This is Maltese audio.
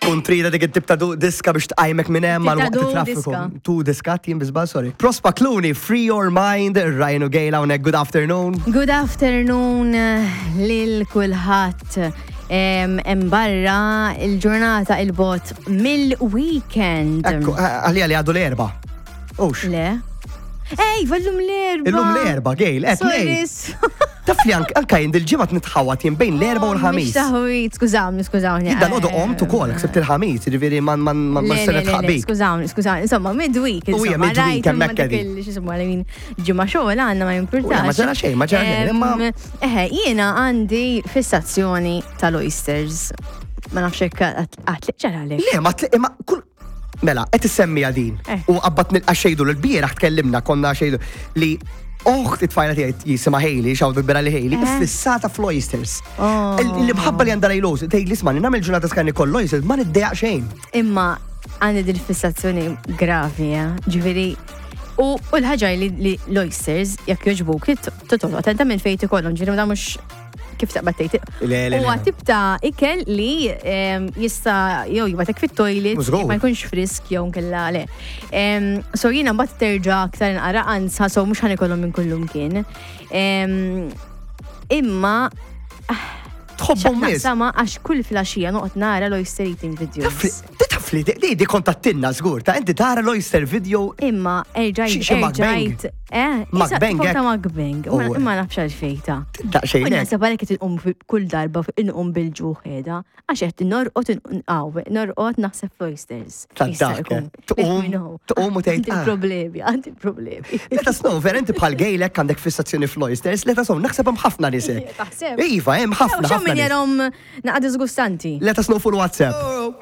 Kun trida dik it-tip ta' diska biex tqajmek minn hemm għal waqt it-traffiku. Tu diska jien biżbal, sorry. Prospa Clooney, Free Your Mind, Ryan u Gail hawnhekk, good afternoon. Good afternoon eh, lil kulħadd. Hemm barra il-ġurnata il-bot mill-weekend. Ekku, eh, għalija li għadu l-erba. Ux. Le. Ej, vallum l-erba. Illum l-erba, Gail, qed Taf li anka jien dil-ġimgħa nitħawat jien bejn l-erba u oh, l-ħamis. Taħwit, skużawni, skużawni. Jien dal qomt ukoll, ksibt il-ħamis, jiġifieri ma ma ma se nitħaq Skużawni, skużawni, insomma, midweek. U hija midweek hemmhekk qegħdin. X'ismu għal min ġimgħa xogħol għandna ma jimpurtax. Ma ġara xejn, ma ġara xejn, imma. Eħe, jiena għandi fissazzjoni tal-oysters. Ma nafx hekk għatliq ġaralek. Le, ma tliq imma kull Mela, qed issemmija din. Eh. U qabbat nilqa' xejdu l-bieraħ tkellimna konna xejdu li oħt it-tfajla tiegħi jisimha Hailey, xawdu kbira li Hailey, eh. fissata fl-oysters. Oh. L-imħabba li għandha lejl tgħid li isma' nagħmel ġurnata skan ikoll oysters ma niddejaq xejn. Imma għandi dil fissazzjoni gravi, eh? ġifieri U l-ħaġa li l-oysters, jekk joġbuk, totol, attenta minn fejn ikollhom, ġifieri ma mhux kif taqbad tgħid. Huwa tip ta' ikel li jista' jew jibatek fit-toilet ma jkunx frisk jew nkella le. So jiena mbagħad terġa' aktar inqara anza so mhux ħanikolhom minn kullum kien. Imma tħobbhom nies. Sama għax kull flaxija noqgħod nara l-oyster eating videos. Taf li di di kontattinna żgur ta' inti tara l-oyster video. Imma erġajt erġajt eh mukbang. Ta' mukbang. Imma nafx għalfejn ta. Daqsxejn. Naħseb għalhekk qed inqum kull darba inqum bil-ġuħ qiegħda għax qed norqod inqaw norqod naħseb fl-oysters. Tad-dak. Tqum tqum u tgħid. Għandi ah. problemi, għandi problemi. Let us know, vera inti bħal gejlek għandek fissazzjoni fl-oysters, let us know, naħseb hemm ħafna nies hekk. Iva, hemm ħafna. Xemm min jarhom naqa' disgustanti. Let us know fuq WhatsApp.